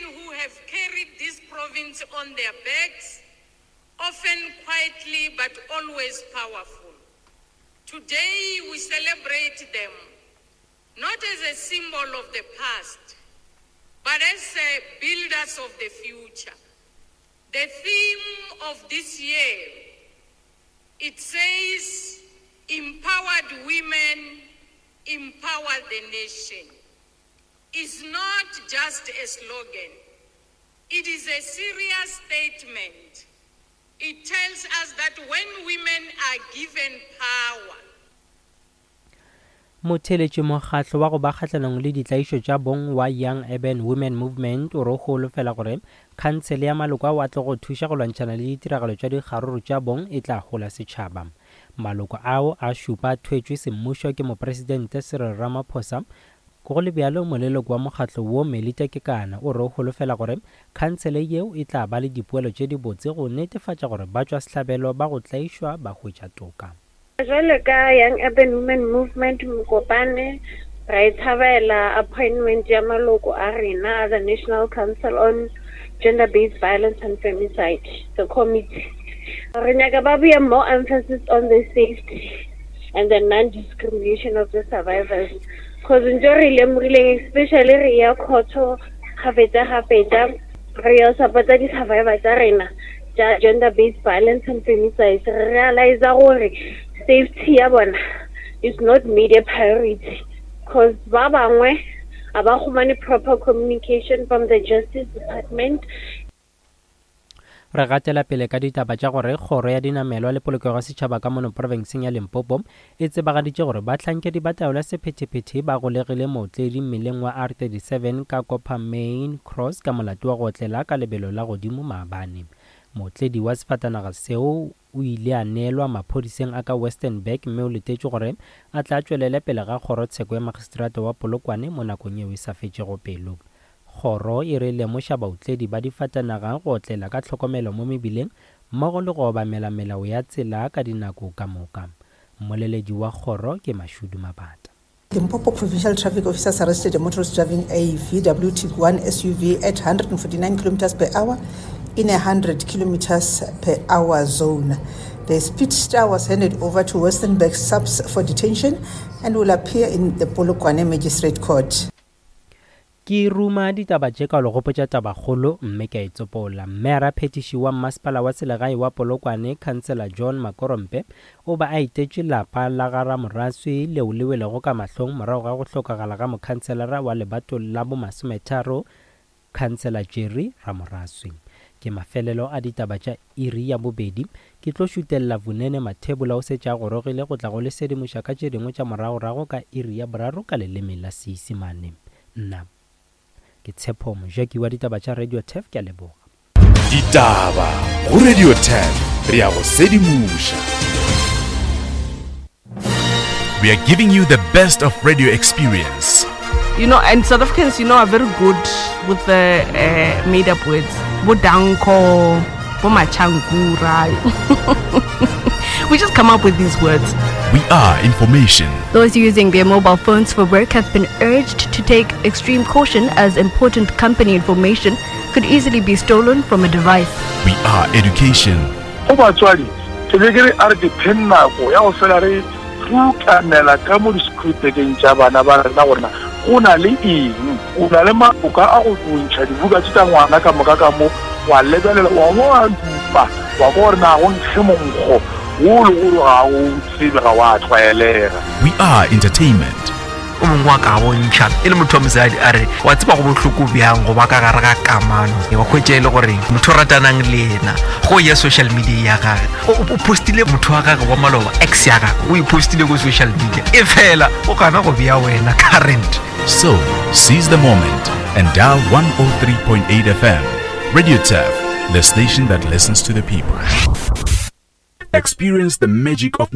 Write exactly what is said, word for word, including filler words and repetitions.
who have carried this province on their backs, often quietly but always powerful. Today we celebrate them not as a symbol of the past, but as builders of the future. The theme of this year, it says, empowered women empower the nation. Is not just a slogan. It is a serious statement. It tells us that when women are given power, Motheeletši mokgatlo wa go ba kgahlanong le ditlaišo tša bong wa Young Urban Women Movement o re o holofela gore khansele ya maloko ao a tlo go thuša go lwantšhana le ditiragalo tša dikgaruru tša bong e tla hola setšhaba. Maloko ao a šupa a thwetšwe semmušo ke Mopresidente Cyril Ramaphosa. Go le bjalo, moleloko wa mokgatlo wo Melita Kekana o re o holofela gore khansele yeo e tla ba le dipoelo tše dibotse go netefatša gore batšwasehlabelo ba go tlaišwa ba hwetša toka. Jwale ka Young Urban Women Movement Mokopane, ra e thabela appointment ya maloko a rena a the National Council on Gender-Based Violence and Femicide, the committee. Re nyaka ba beye more emphasis on the safety and the non-discrimination of the survivors. Cause ntho re lemogileng, especially re ya khotho gafetsa gafetsa re ya support-a di-survivor tsa rena tša gender-based violence and femicide, re realize gore safety ya bona is not made a priority, cause ba bangwe a ba humane proper communication from the justice department. Re gatela pele ka ditaba tša gore kgoro ya dinamelwa le polokego ya setšhaba ka mono profenseng ya Limpopo e tsebagaditše gore bahlankedi ba taolo ya sephethephethe ba golegile mootledi mmileng wa R thirty-seven ka Coppermine Cross ka molato wa go otlela ka lebelo la godimo maabane. Mootledi wa sefatanaga seo o ile a neelwa maphodiseng a ka Westernburg mme o letetšwe gore a tla tšwelele pele ga kgorotsheko ya magistrata wa Polokwane mo nakong yeo e sa fetšego pelo. Kgoro e re lemoša baotledi ba difatanaga go otlela ka tlhokomelo mo mebileng mmogo le go obamela melao ya tsela ka dinako ka moka. Mmoleledi wa kgoro ke Mashudu Mabata. Limpopo Provincial Traffic officers arrested a motorist driving a V W Tiguan S U V at one hundred forty-nine kilometers per hour in a one hundred kilometers per hour zone. The speedster was handed over to Westernburg SAPS for detention and will appear in the Polokwane Magistrate Court. Ke ruma ditaba tše ka le gopotša tabakgolo mme ke a e tsopola. Mmeara phetiši wa mmasepala wa selegae wa Polokwane, Councillor John Makorompe, o ba a etetše lapa la ga Ramoraswi leo le welego ka mahlong morago ga go hlokagala ga mokhanselara wa lebato la bomasometharo, Councillor Jerry Ramoraswi. Ke mafelelo a ditaba tša iri ya bobedi. Ke tlo šutelela Vunene Mathebola o setše a gorogile go tla go le sedimoša ka tše dingwe tša moragorago ka iri ya boraro ka leleme la Seisemane. Nna ke Tshepo Mojaki wa ditaba tša Radio Turf, ke a leboga. Ditaba go Radio Turf, re ya go sedimoša. We are giving you the best of radio experience. You know, and South Africans, you know, are very good with the uh, made up words. Bodanko, Bomachankura. We just come up with these words. We are information. Those using their mobile phones for work have been urged to take extreme caution as important company information could easily be stolen from a device. We are education. Go batswadi ke be ke re a re ke pheng nako ya go fela re rutamela ka mo di-schoolbageng tša bana ba rena gorena go na le eng, o na le maboka a go bontšha dibuka tše tša ngwana ka moka ka mo wa lebelela wa bo wa dupa wa kwa gore na go nkge monkgo wo le gore ga o tsebe ga wa tlwaelega. We are entertainment. O mongwe wa ka bontšha e le motho wa mosadi a re wa tseba go bohloko bjang go ba ka gare ga kamano wa hwetša e le gore motho o ratanang le yena go ya social media ya gage o o postile motho wa gage wa maloba, ex ya gage, o e postile ko social media e fela o gana go bea wena current. So, seize the moment and dial one oh three point eight F M. Radio Turf, the station that listens to the people. Experience the magic of